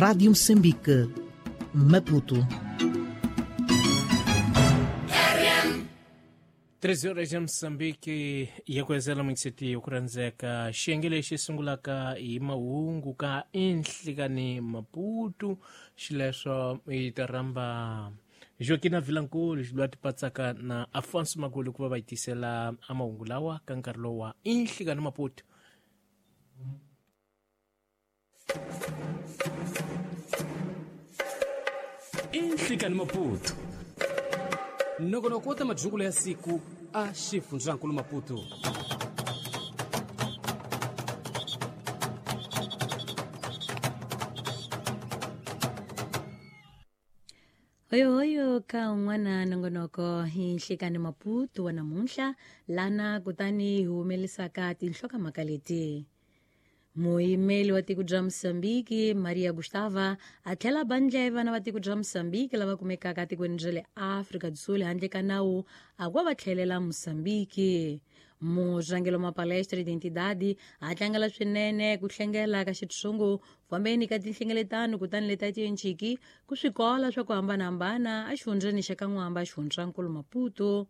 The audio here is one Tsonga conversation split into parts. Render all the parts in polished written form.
Rádio Moçambique, Maputo. 13 horas ya Moçambique yakwezela mungiseti okurandzeka xiyenge lexi sungulaka hi mahungu ka enhlikani Maputo xileswo hi ta rhamba Joaquina Vilankulu loyi a tipatsaka na Afonso Magulu ku va va yi tisela a mahungu lawa ka nkarhi lowu wa enhlikani Maputo. Inhlikani Maputo nongonoko wa ta madyungulo ya siku a xifundzankulu Maputo. Hoyohoyo ka un'wana nongonoko hi Nhlikani Maputo wa namuntlha lana kutani hi humelisaka tinhlokamhaka leti. Muyimeli wa tiko bya Mozambique Maria Gustava a tlhela ba ndleve vana va tiko bya Mozambique lava kumekaka tikweni bya le Afrika do Sul handle ka nawu a ku va tlhelela Mozambique. Murhangeri wa Palestra Identidade a tlangela swinene ku hlengela ka xitshungu fambeni ka tinhlengeletano kutani leti a ti enciki ku swikola swa ku hambanahambana exifundzheni xa ka N'wamba xifundzankulu Maputo.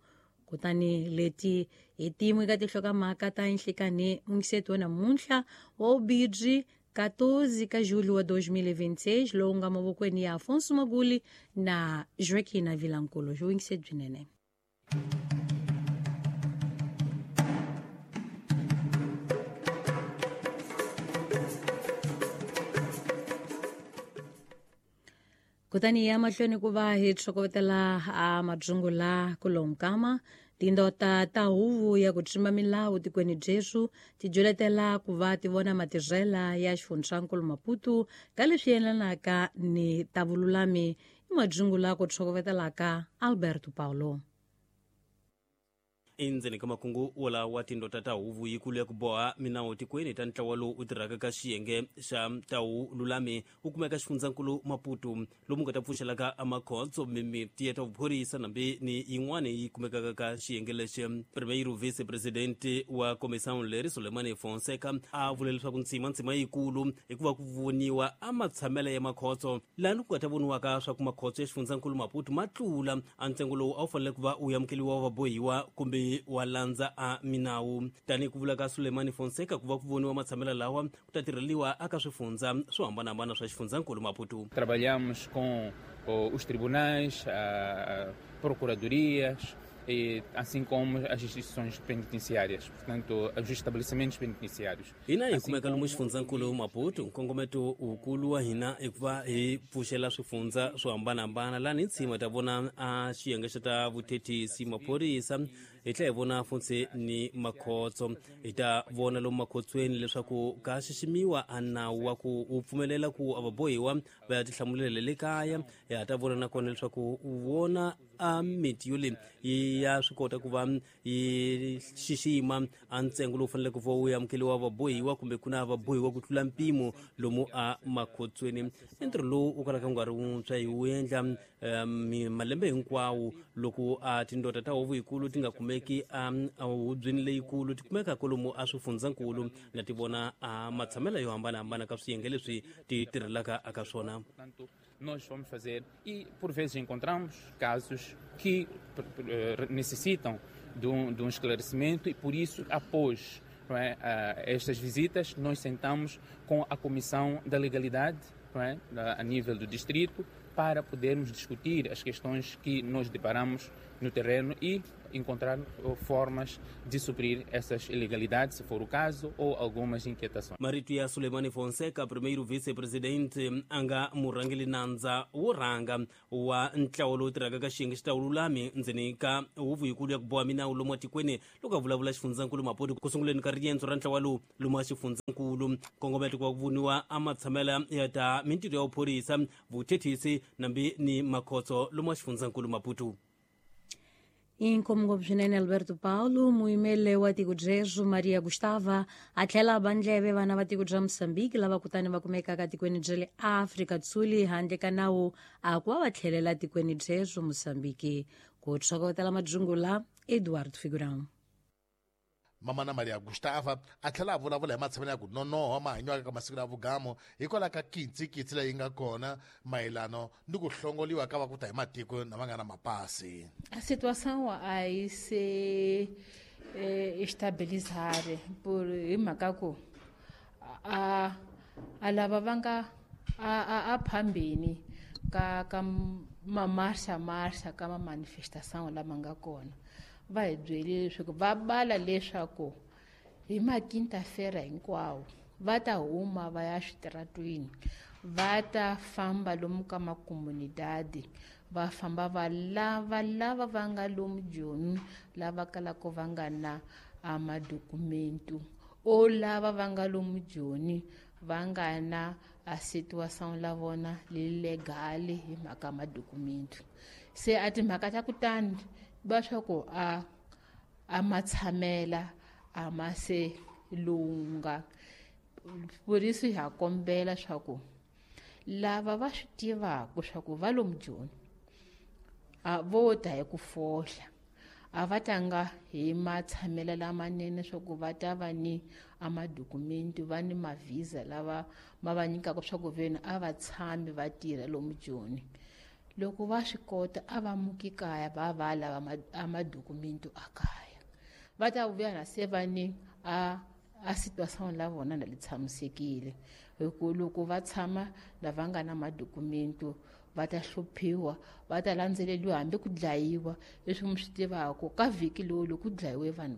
Kutani leti hi tin'we ka tinhlokamhaka ta nhlikani mungiseti wa namuntlha wa ubidri 14 ka julho wa 2026 lowu nga mavokweni ya Afonso Maguli na Joaquina Vilankulu. Xi byinene. Kutani ya mahlweni ku va hi tlhokovetela a madzungula ku lonkama tindota ta huvo ya ku tshimba milawu tikweni byesu ti dyoletela ku va ti vona matirhela ya xifundzankulu Maputo ka leswi yelanaka ni ta vululami i madzungula ku tlhokovetelaka Alberto Paulo. Endzeni ka makungu wolawa wa tindota ta huvo yikulu ya ku boha minawu tikweni ta ntlawa lowu u tirhaka ka xiyenge xa tawu lulami wu kumeka xifundzankulu Maputo lomu nga ta pfuxelaka amakhotso mimiti ya ta vuphorisa nambi ni yin'wana yi kumekaka ka xiyenge lexi. Primeiro vice-presidente wa comissão leri Sulemani Fonseca a vule leswaku ntsima yikulu hikuva ku voniwa a matshamelo ya makhotso lani ku nga ta voniwaka swa ku makhotso ya xifundzankulu Maputo ma tlula a ntsengo lowu a wu fanele ku va wu amukeliwa vabohiwa kumbe wa landza a minawu. Tanihi ku vula ka Sulemani Fonseca ku va ku voniwa matshamelo lawa ku ta tirheliwa aka swifundza swo hambanahambana swa xifundzankulu Maputo. Trabalhamos com os tribunais, procuradorias, e assim como as instituições penitenciárias, portanto, os estabelecimentos penitenciários. Hina hi kumeka lomu xifundzankulu Maputo, nkongometo wukulu wa hina i ku va hi pfuxela swifundza swo hambanahambana lani hi tshima ta vona a xiyenge xa ta vuthethisi maphorisa hi tlhela hi vona funtse ni makhotso hi ta vona lomu makhotsweni leswaku ka xiximiwa a nawu wa ku wu pfumelela ku a vabohiwa va ya tihlamulela le kaya. Hi ha ta vona nakona leswaku u vona a miti yo leyi ya swi kota ku va yi xixima a ntsengo lowu faneleke ku va wu amukeliwa vabohiwa kumbe ku na vabohiwa ku tlula mpimo lomu a makhotsweni. I ntirho lowu wu kalaka wu nga ri wuntshwa hi wu endla malembe hinkwawo loko a tindota ta huvo yikulu ti nga kumeki a hubyeni leyikulu ti kumeka kwalomu a swifundzankulu na ti vona a matshamelo yo hambanahambana ka swiyenge leswi ti tirhelaka aka swona. Nós vamos fazer e por vezes encontramos casos que necessitam de um esclarecimento e por isso após, não é, estas visitas nós sentamos com a Comissão da Legalidade, não é, a nível do distrito para podermos discutir as questões que nós deparamos no terreno e encontrar formas de suprir essas ilegalidades, se for o caso, ou algumas inquietações. Marito ya Sulemani Fonseca, primeiro vice-presidente anga murhangeli nandza wo rhanga wa ntlawa lowu tirhaka ka xiyenge xa vululami ndzeni ka huvo yikulu ya ku boha minawu lomu atikweni loko a vulavula xifundzankulu Maputo ku sunguleni ka riendzo ra ntlawa lowu lomu a xifundzankulu. Nkongometo ku va ku voniwa a matshamela ya ta mintirho ya vuphorisa vuthethisi nambi ni makhotso lomu a xifundzankulu Maputo. Inkomo swinene Alberto Paulo, muyimeli wa tiko byesu Maria Gustava a tlhela ba ndleve vana va tiko bya Mozambique lava kutani va kumekaka tikweni bya le Afrika Dzuli handle ka nawu a ku va va tlhelela tikweni byesu Mozambique. Ku tlhokovetela madzungula Eduardo Figurão. Mamana Maria Gustava a tlhela a vulavula hi matshamelo ya ku nonoha mahanyiwaka ka masiku ya vugamo hikwalaho ka kitsikitsi leyi nga kona mayelano ni ku hlongoliwa ka va ku ta hi matiko lama nga na mapasi. A situação a yi se estabilizar por hi mhaka ku a lava va nga a phambeni ka mamarxa marxa ka ma-manifestação lama nga kona va hi byelile leswaku va bala leswaku hi maquinta-feira hinkwawo va ta huma va ya switaratwini, va ta famba lomu ka makomunidadi, va famba va lava lava va nga lomu Joni, lava kalaka va nga na madokumentu o lava va nga lomu Joni va nga na a situação la vona legal hi mhaka madokumentu. Se a timhaka ta kutani va swa ku a matshamela a ma se lunga. Por isso ha kombela swa ku lava va swi tivaka swa ku va lomu Joni a vo ta hi ku fohla, a va tanga hi matshamela lamanene swa ku va ta va ni a madokumentu, va ni mavhisa lava ma va nyikaka swa ku veni a va tshami va tirha lomu Joni. Loko va swi kota a va muki kaya va va lava a madokumentu a kaya, va ta vuya na se va ni a situação la vona na li tshamisekile. Hi ku loko va tshama lava nga na madokumentu va ta hluphiwa, va ta landzeleriwa hambi ku dlayiwa. Leswi mi swi tivaka ka vhiki lowu loko ku dlayiwe vanhu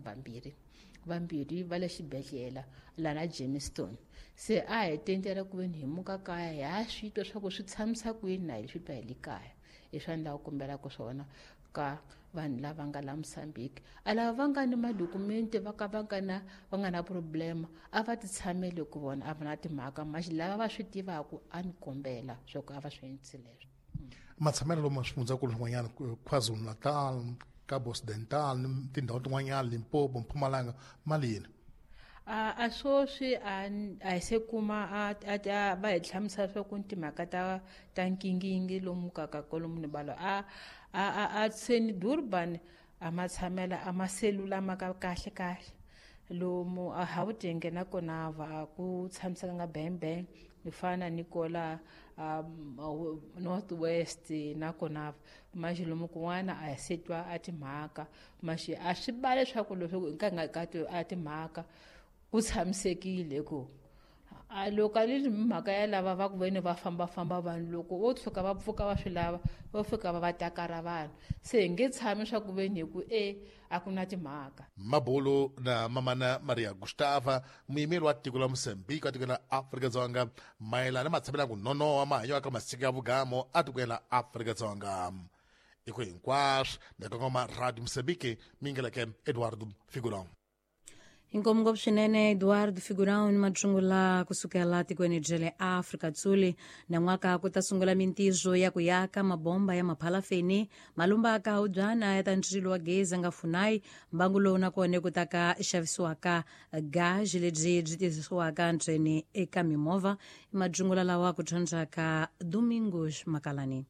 vambirhi va le xibedhlele lana Jamestown. Se a hi tendela ku veni hi muka kaya hi ha swi twa swa ku swi tshamisa kwini na hi swi twa hi le kaya. Hi swa ni lava ku kombelaka swona ka vanhu lava nga la Mozambique, a lava va nga ni madokumenti va ka va nga na problema a va ti tshamele ku vona a va na timhaka maxi lava va swi tivaka a ni kombela swa ku a va swi endlisi leswo. Matshamelo lomu swifundzakulu swin'wanyana KwaZulu-Natal, Cabo Occidental, tindhawu tin'wanyana Limpopo, Mpumalanga malini? A swoswi a hi se kuma a va hi hlamusela swa ku timhaka ta nkingingi lomu ka kolomu ni balo a seni Durban a matshamela a maselula ma ka kahle kahle lomu a Gauteng nakona va ku tshamisekanga bang ni fana ni kola North West nakona maxi lomu kun'wana a se twa a timhaka maxi a swi ba leswaku leswaku hi nkarhi ka a timhaka ku tshamisekile ku a loko a li mhaka ya lava va ku veni va fambafamba vanhu loko vo tshuka va pfuka va swi lava va fika va va takara vanhu se hi nge tshami swa ku veni hi ku a ku na timhaka. Mabulu na Mamana Maria Gustava, muyimeri wa tiko la Mozambique wa tiko la Afrika-Dzonga mayelana matshamelo ya ku nonoha mahanyelo ka masiku ya vugamo a tikweni la Afrika-Dzonga. I ku hinkwaswo na kongoma Radio Mozambique mingeleke Eduardo Figurão. Inkomu ngopfu swinene Eduardo Figurão ni matsungula kusukela tikweni bya le Afrika Tsuli. Nan'waka ku ta sungula mintirho ya ku yaka mabomba ya maphalafeni malumba ka hubyana ya ta ndzilo wa gezi nga funai mbangu lowu nakona ku ta ka xavisiwaka gaji lebyi byi tirhisiwaka ntsena eka mimovha. I matsungula lawa ku dyondzaka Domingos Makalani.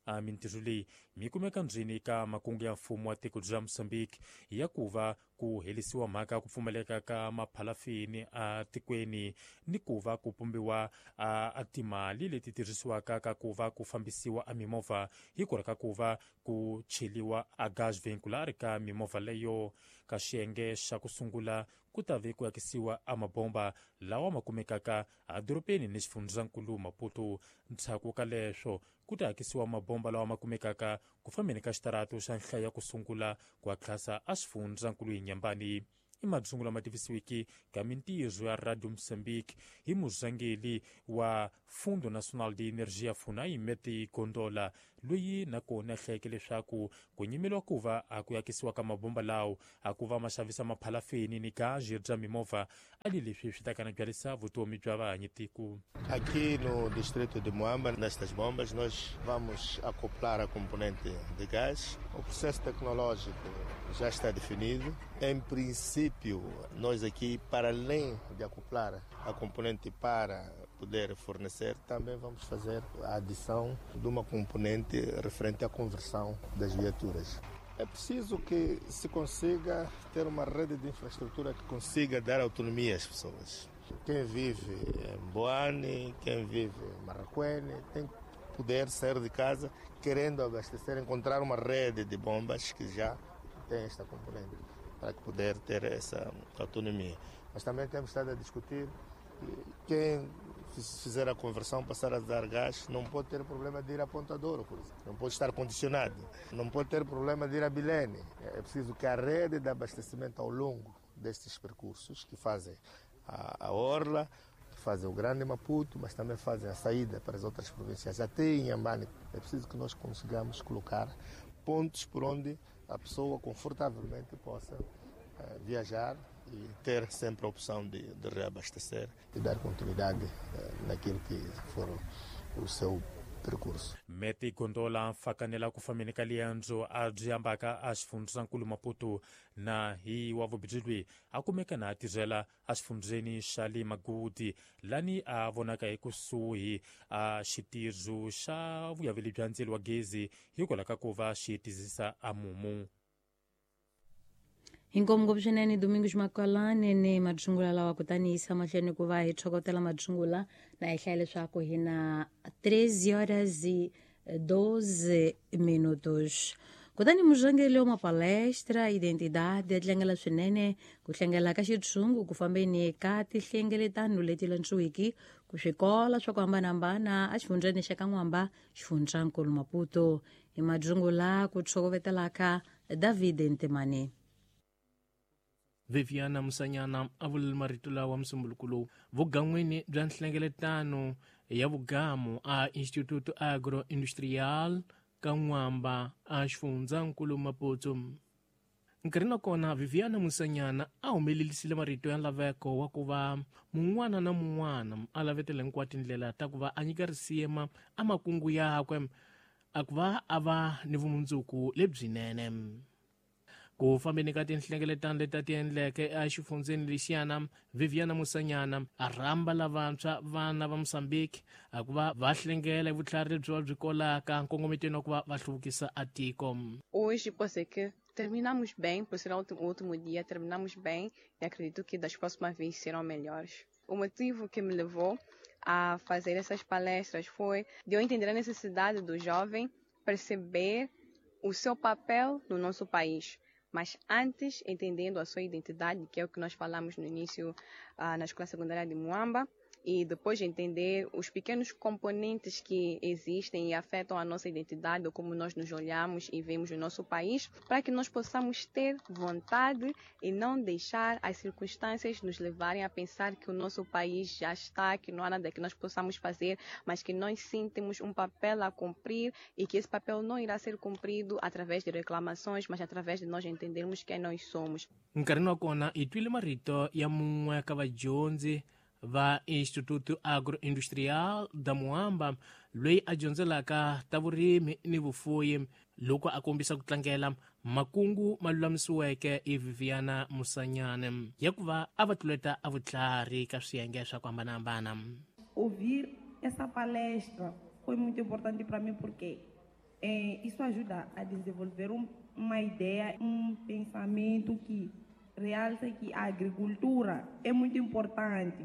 A mintirho leyi mi kumeka ndzeni ka makungu ya mfumo wa tiko bya Mozambique ya ku va ku helisiwa mhaka ku pfumaleka ka maphalafini a tikweni ni ku va ku pumbiwa a timali leti tirhisiwaka ka ku va ku fambisiwa a mimovha hi ku ka ku va ku cheliwa a gas vehicular ka mimovha leyo. Ka xiyenge xa ku sungula ku ta ve ku akisiwa a mabomba lawa ma kumekaka edorobeni ni xifundzankulu Maputo. Ndzhaku ka leswo ku ta akisiwa mabomba lawa ma kumekaka ku fambeni ka xitarato xa nhlayo ya ku sungula ku atlasa a xifundzankulu hi Nyambani. I madzungu lama tivisiwiki ka mintirho ya Radio Mozambique hi muzangeli wa Fundo Nacional de Energia FUNAI Meti Gondola, loyi nakona a hlayeke leswaku ku nyimeliwa ku va a ku akisiwa ka mabomba lawo a ku va ma xavisa maphalafeni ni gaji bya mimovha a li leswi swi ta kana byalisa vutomi bya vahanyi tiko. Aqui no distrito de Moamba, nestas bombas, nós vamos acoplar a componente de gás. O processo tecnológico já está definido. Em princípio, nós aqui, para além de acoplar a componente para poder fornecer, também vamos fazer a adição de uma componente referente à conversão das viaturas. É preciso que se consiga ter uma rede de infraestrutura que consiga dar autonomia às pessoas. Quem vive em Boane, quem vive em Marracuene, tem que poder sair de casa querendo abastecer, encontrar uma rede de bombas que já tem esta componente, para poder ter essa autonomia. Mas também temos estado a discutir que quem fizer a conversão, passar a dar gás, não pode ter problema de ir a Ponta Douro, por exemplo. Não pode estar condicionado. Não pode ter problema de ir a Bilene. É preciso que a rede de abastecimento ao longo destes percursos, que fazem a Orla, que fazem o Grande Maputo, mas também fazem a saída para as outras províncias, até em Inhambane, é preciso que nós consigamos colocar pontos por onde a pessoa confortavelmente possa viajar e ter sempre a opção de reabastecer e dar continuidade naquilo que for o seu percurso. Meti gondola mfakanela ku fambeni ka liendzo a byi ambaka a xifundzankulu Maputo na hi wa vubirhi a kumeka na a tirhela exifundzeni xa le Magudi lani a vonaka ekusuhi a xitirho xa vuyaveli bya ndzilo wa gezi hikwalaho ka ku va xi tizisa a mumu. Inkomu ngopfu swinene Domingos Makalane ni madzungula lawa, kutani yisa mahlweni ku va hi tlhokotela madzungula na hi hlaya leswaku hi na 3 horas e 12 minutos. Kutani murhangeri wa mapalestra identidade ya tlangela swinene ku hlengela ka xitshungu ku fambeni ka tihlengeletano leti landzuwiki ku swikola swa ku hambanahambana exifundzeni xa ka N'wamba, xifundzankulu Maputo. Hi madzungula ku tshokovetelaka David Ntemane. Viviana Musanyana a vulele marito lawa musumbuluko lowu vugan'wini bya nhlengeletano ya vugamu a Instituto Agroindustrial ka N'wamba a xifundzankulu Maputo. Nkarhi na kona Viviana Musanyana a humelelisile marito ya laveko wa ku va mun'wana na mun'wana a lavetela hinkwato tindlela ta ku va a nyika risima a makungu yakwe a ku va a va ni vumundzuku lebyinene. Ku fambeni ka tinhlengeletano leti a ti endleke exifundzeni lexiyana, Viviana Musanyana a rhamba lavantshwa vana va Mozambique a ku va va hlengela hi vutlhari lebyi va byi kolaka nkongometweni wa ku va va hluvukisa a tiko. Hoje pode ser que terminamos bem, por ser o último dia, terminamos bem e acredito que das próximas vezes serão melhores. O motivo que me levou a fazer essas palestras foi de eu entender a necessidade do jovem perceber o seu papel no nosso país. Mas antes, entendendo a sua identidade, que é o que nós falamos no início na Escola Secundária de Moamba, e depois entender os pequenos componentes que existem e afetam a nossa identidade, ou como nós nos olhamos e vemos o nosso país, para que nós possamos ter vontade e não deixar as circunstâncias nos levarem a pensar que o nosso país já está, que não há nada que nós possamos fazer, mas que nós sim temos um papel a cumprir e que esse papel não irá ser cumprido através de reclamações, mas através de nós entendermos quem nós somos. Nkarhi wa kona hi twile marito ya mun'we ka vadyondzi va Instituto Agroindustrial da Moamba loyi a dyondzelaka ta vurimi ni vufuyi loko a kombisa ku tlangela makungu ma lulamisiweke hi Viviana Musanyana ya ku va a va tluleta a vutlhari ka swiyenge swa ku hambanahambana. Ouvir essa palestra foi muito importante para mim porque isso ajuda a desenvolver uma ideia, um pensamento que realça que a agricultura é muito importante.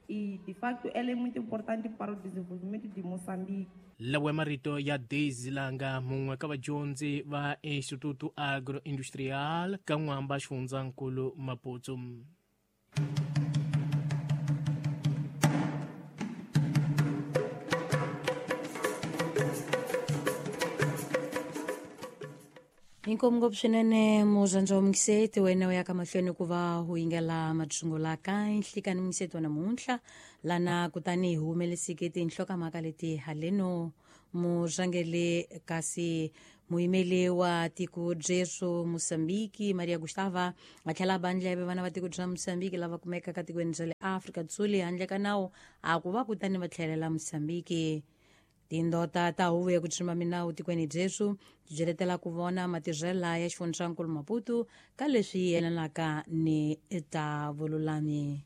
E, de facto, ela é muito importante para o desenvolvimento de Moçambique. Lawa marito ya Daisy Langa mun'we ka vadyondzi va Instituto Agroindustrial ka N'wamba, xifundzankulu Maputo. Inkomu ngopfu swinene murhandza wa mungiseti wena u ya ka mahlweni ku va u yingela madzungula ka nhlikani mungiseti wa namuntlha lana kutani hi humelesike tinhlokomhaka leti haleno murhangeri kasi muyimeli wa tiko Jesu Mozambique Maria Gustava a tlhela a bandleve vana va tiko bya Mozambique lava kumekaka tikweni ra le Afrika Dzonga handle ka nawu a ku va kutani va tlhelela Mozambique. Tindota ta huvo ya ku tshimba minawu tikweni Jesu ti byeletela ku vona matirhela ya xifundzankulu Maputo ka leswi yelanaka ni ta vululami.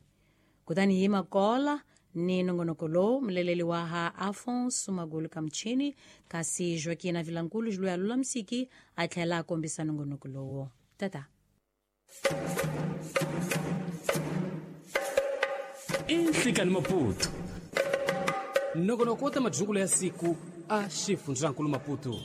Kutani hi makola Ni nongonoko lowu muleleli wa ha Afonso Magulu Kamchini, kasi Joaquina Vilankulu Juluya Lulamisiki a tlhela a kombisa nongonoko lowo. Tata. Inhlikani Maputo, nongonoko wa ta madyungulo ya siku a xifundzankulu Maputo.